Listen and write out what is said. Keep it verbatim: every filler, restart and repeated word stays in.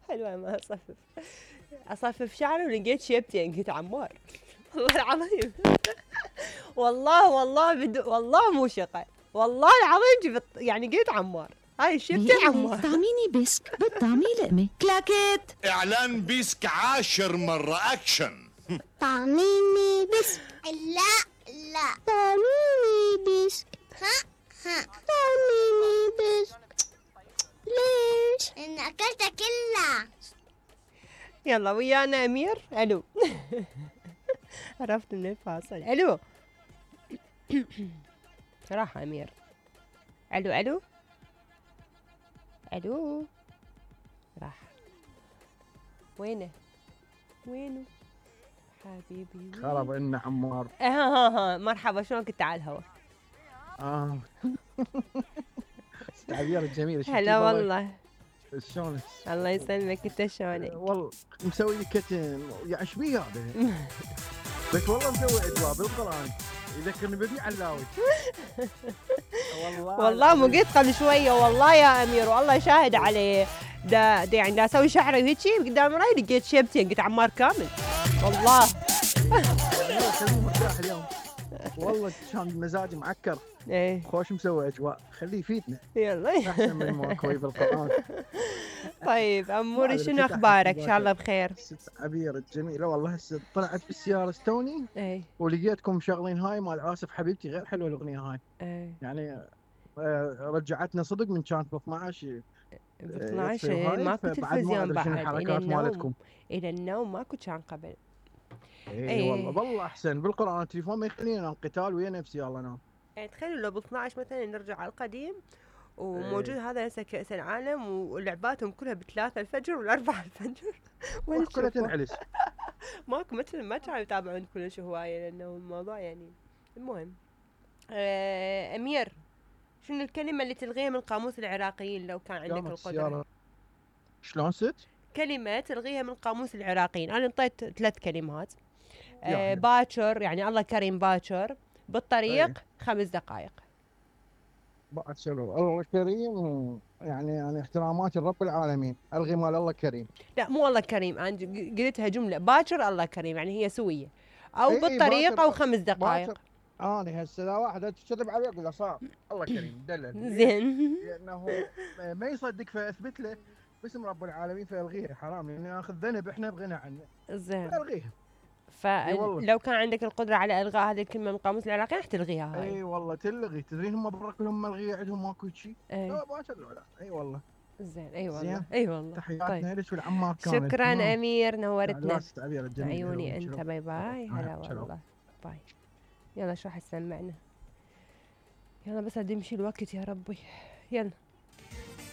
حلوة ما اصفف اصفف شعري ولقيت شيبتين قلت عمار والله العظيم والله والله بدو والله مو شقة والله العظيم جبت يعني قلت عمار هاي الشيبتين عمار. طعميني بسك بالطعمي لقمة كلاكيت. اعلان بيسك عاشر مرة اكشن. طعميني بسك. لا لا طعميني بسك. ها ها طعميني بسك. ليش؟ إن أكلتها كلها. يلا ويانا أمير. ألو عرفت من الفاصل. ألو راح أمير. ألو ألو ألو راح. وينه وينه حبيبي؟ خرب إن عمار. ها ها ها مرحبا شلونك انت على الهوا؟ اه التعبير الجميل. هلا والله. شلونك؟ الله يسلمك انت شلونك؟ والله مسوي لي كتم يعني ايش بيه هذا؟ بس والله مسوي اجواء بالقران يذكرني بابي علاوي. والله والله مو قلت قبل شويه والله يا امير والله شاهد عليه دا, دا يعني دا اسوي شعري وهيجي قدام راي لقيت شيبتين قلت عمار كامل والله. خليني مرتاح اليوم والله كان مزاجي معكر. ايه خوش مسوي اجواء خليه يفيدنا. يلا احسن من ماكوي بالقران. طيب اموري شنو اخبارك؟ ان شاء الله بخير. ست عبير الجميله والله هسه طلعت بالسياره استوني اي ولقيتكم مشغلين هاي مال عاصف حبيبتي غير حلوه الاغنيه هاي. اي يعني رجعتنا صدق من كانت ب اثنعش ب اثنعش ماكو تلفزيون بعد الى النوم الى النوم ماكو كان قبل. اي أيه والله والله احسن بالقران التليفون ما يخليني انام قتال ويا نفسي يلا نام. يعني تخيلوا لو ب اثنعش مثلا نرجع على القديم وموجود أيه. هذا هسه كأس العالم ولعباتهم كلها بثلاثة الفجر والأربعة الفجر كلها تنعلس. ماكو مثل ما كانوا يتابعون كلش هواية لأنه الموضوع يعني المهم. آه أمير شنو الكلمة اللي تلغيها من قاموس العراقيين لو كان عندك القدرة؟ شلون ست؟ كلمة تلغيها من قاموس العراقيين. أنا انطيت ثلاث كلمات. آه باكر يعني الله كريم باكر بالطريق أيه. خمس دقائق. باكر الله كريم يعني يعني احترامات لرب العالمين الغي مال الله كريم. لا مو الله كريم انا قلتها جملة باكر الله كريم يعني هي سوية او أي بالطريق او خمس دقائق. انا هسه لا واحد تكذب عليه اقول له صار الله كريم دلل زين لانه ما يصدق فاثبت له باسم رب العالمين فالغيها حرام لان ناخذ ذنب احنا بغنى عنه. زين الغيها. فلو كان عندك القدرة على الغاء هذه الكلمة من قاموس العراقي راح تلغيها هاي. اي والله تلغي. تدرين هم برا كلهم ملغيه عندهم ماكو شيء. لا ما تلغوا لا. اي والله. زين اي والله اي والله. تحياتنا لك والعمار كامل. شكرا مم. امير نورتنا. عيوني انت باي باي. هلا والله باي. يلا شو راح تسمعنا؟ يلا بس ادي يمشي الوقت يا ربي. يلا